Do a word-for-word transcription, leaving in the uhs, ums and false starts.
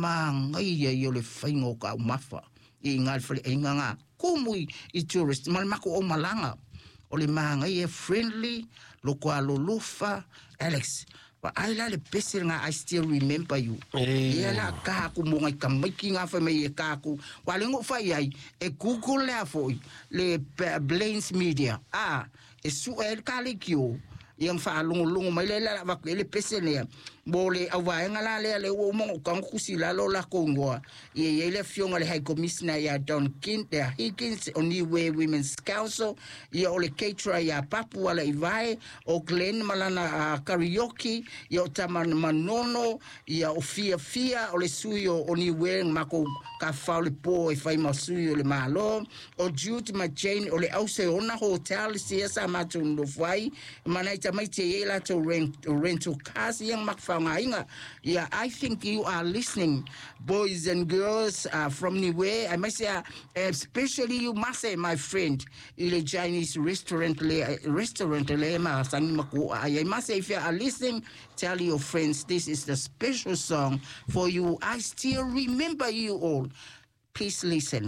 Magaia ia o le faiga o taumafa i iga i le faleaiga ga tumu i tourist ma le matou aumalaga. O le magaia, friendly, loko alolofa. Alex, vaai la le pese lena, "I Still Remember You". Ia la ka aku mo ngai tamaiti ga fai mai e ka aku wa le ngo fai ai e Google lea foi le Blains Media a e su e ka le kio ia faalogologo mai le la va le pese lea mo le auvaega la lea le ua uma ona kusi lalo lakou igoa. Ia i ai le afioga le High Commissioner ia Don Kin, ia Higgins o Niue Women's Council, ia o le caterer ia Papu ala i vae o Glenn malana uh, karaoke, ia o Tama Manono, ia o Fia Fia o le sui o, o Niue makou ka fao le po e fai ma sui o le Malo, o Jude ma Jane o le Auseona Hotel sia sa matou nofo ai mana i tamaiti e iai latou rent, rental cars ia ma faaaogaina. Yeah, I think you are listening, boys and girls uh, from Niue. I must say, uh, especially you, Mase, my friend, i le Chinese restaurant le restaurant le ma sangi maku. I must say, if you are listening, tell your friends this is the special song for you. I still remember you all. Please listen.